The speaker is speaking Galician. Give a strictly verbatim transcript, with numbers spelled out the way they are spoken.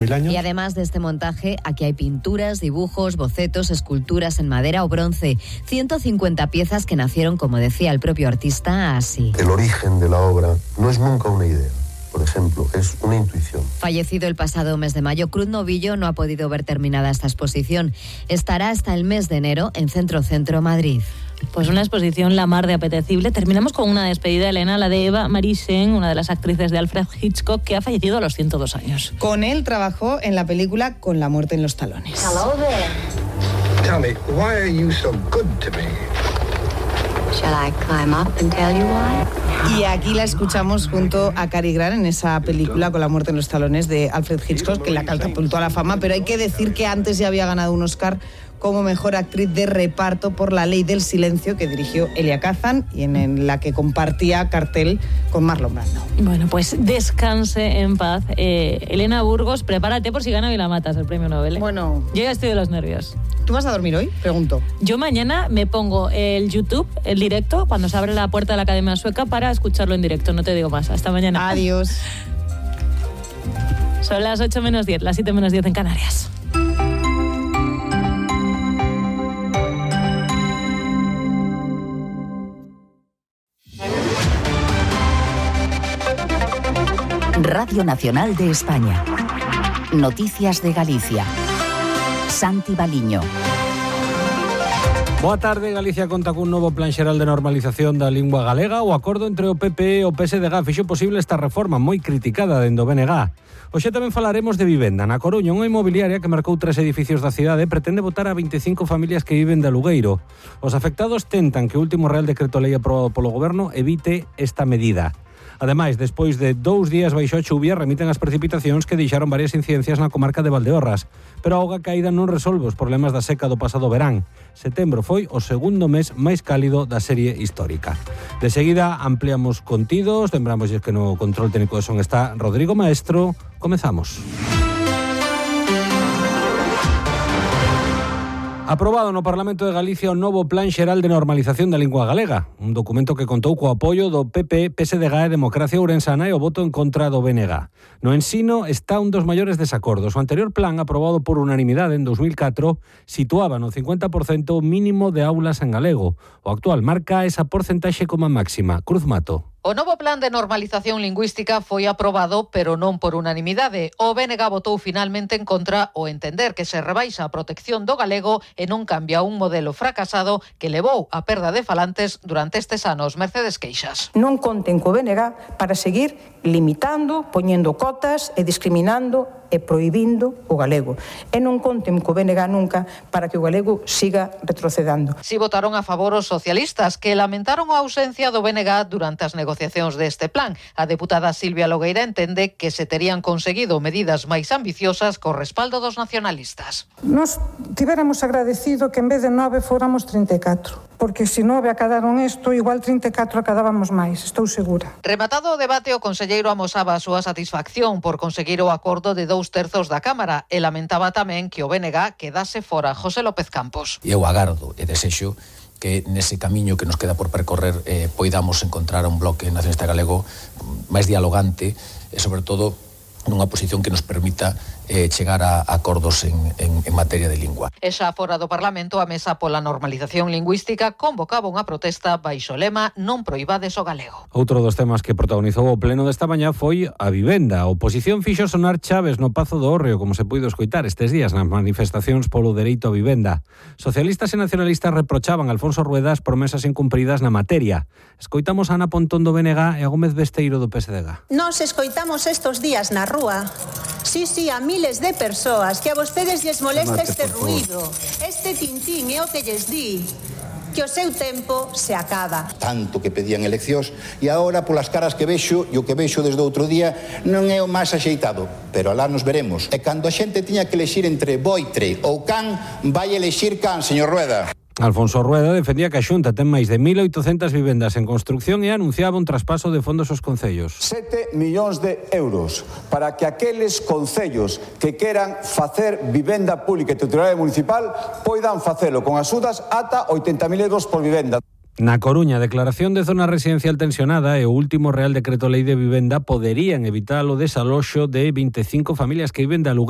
Y además de este montaje, aquí hay pinturas, dibujos, bocetos, esculturas en madera o bronce. ciento cincuenta piezas que nacieron, como decía el propio artista, así. El origen de la obra no es nunca una idea. Por ejemplo, es una intuición. Fallecido el pasado mes de mayo, Cruz Novillo no ha podido ver terminada esta exposición. Estará hasta el mes de enero en Centro Centro Madrid. Pues una exposición la mar de apetecible. Terminamos con una despedida, Elena, la de Eva Marisen, una de las actrices de Alfred Hitchcock, que ha fallecido a los ciento dos años. Con él trabajó en la película Con la muerte en los talones. Hello there. Tell me, why are you so good to me? Shall I climb up and tell you why? Y aquí la escuchamos junto a Cary Grant en esa película Con la muerte en los talones de Alfred Hitchcock, que la catapultó a la fama, pero hay que decir que antes ya había ganado un Oscar como mejor actriz de reparto por La ley del silencio, que dirigió Elia Kazan y en la que compartía cartel con Marlon Brando. Bueno, pues descanse en paz. Eh, Elena Burgos, prepárate por si gana Vilamatas el premio Nobel. ¿eh? Bueno, yo ya estoy de los nervios. ¿Tú vas a dormir hoy? Pregunto. Yo mañana me pongo el YouTube, el directo, cuando se abre la puerta de la Academia Sueca, para escucharlo en directo. No te digo más. Hasta mañana. Adiós. Son las ocho menos diez, las siete menos diez en Canarias. Radio Nacional de España. Noticias de Galicia. Santi Baliño. Boa tarde. Galicia conta cun novo plan xeral de normalización da lingua galega. O acordo entre o P P e o P S D G fixo posible esta reforma moi criticada dende o B N G. Hoxe tamén falaremos de vivenda. Na Coruña, unha inmobiliaria que marcou tres edificios da cidade pretende botar a veinticinco familias que viven de alugueiro. Os afectados tentan que o último Real Decreto Lei aprobado polo Goberno evite esta medida. Ademais, despois de dous días baixo a chuvia, remiten as precipitacións que deixaron varias incidencias na comarca de Valdeorras. Pero a auga caída non resolve os problemas da seca do pasado verán. Setembro foi o segundo mes máis cálido da serie histórica. De seguida ampliamos contidos, lembramos que no control técnico de son está Rodrigo Maestro. Comezamos. Aprobado no Parlamento de Galicia o novo Plan Xeral de Normalización da Lingua Galega, un documento que contou co apoio do P P, P S D G e Democracia Ourensana e o voto en contra do B N G. No ensino está un dos maiores desacordos. O anterior plan, aprobado por unanimidade en dos mil catro, situaba no cincuenta por cento mínimo de aulas en galego. O actual marca esa porcentaxe como máxima. Cruz Mato. O novo plan de normalización lingüística foi aprobado, pero non por unanimidade. O B N G votou finalmente en contra ao entender que se rebaixa a protección do galego e non cambia un modelo fracasado que levou a perda de falantes durante estes anos. Mercedes Queixas. Non conten co B N G para seguir limitando, poñendo cotas e discriminando e prohibindo o galego. E non conten co B N G nunca para que o galego siga retrocedando. Si votaron a favor os socialistas, que lamentaron a ausencia do B N G durante as negociacións deste plan. A deputada Silvia Logueira entende que se terían conseguido medidas máis ambiciosas co respaldo dos nacionalistas. Nos tivéramos agradecido que en vez de nove fóramos trinta e catro, porque se nove acadaron isto, igual trinta e catro acadábamos máis, estou segura. Rematado o debate, o conselleiro amosaba a súa satisfacción por conseguir o acordo de dous terzos da Cámara e lamentaba tamén que o B N G quedase fora. José López Campos. Eu agardo e desexo que nese camiño que nos queda por percorrer eh, poidamos encontrar un bloque nacionalista galego máis dialogante e, sobre todo, nunha posición que nos permita eh, chegar a acordos en, en, en materia de lingua. E xa fora do Parlamento, a Mesa pola Normalización Lingüística convocaba unha protesta baixo lema non proibades o galego. Outro dos temas que protagonizou o pleno desta mañá foi a vivenda. A oposición fixo sonar chaves no Pazo do Hórreo, como se puido escoitar estes días nas manifestacións polo dereito a vivenda. Socialistas e nacionalistas reprochaban a Alfonso Rueda as promesas incumpridas na materia. Escoitamos a Ana Pontón do B N G e a Gómez Besteiro do P S D G. Nos escoitamos estos días na rúa. Sí, sí, a miles de persoas que a vostedes lles molesta este ruído, este tintín é o que lles di que o seu tempo se acaba. Tanto que pedían eleccións e agora polas caras que vexo e o que vexo desde outro día non é o máis axeitado, pero alá nos veremos. E cando a xente tiña que elexir entre boitre ou can, vai elexir can, señor Rueda. Alfonso Rueda defendía que a Xunta ten máis de mil oitocentas vivendas en construcción e anunciaba un traspaso de fondos aos concellos. Sete millóns de euros para que aqueles concellos que queran facer vivenda pública e titularidade municipal poidan facelo con axudas ata oitenta mil euros por vivenda. Na Coruña, declaración de zona residencial tensionada e o último Real Decreto Lei de Vivenda poderían evitar o desaloxo de veinticinco familias que viven de alugueiro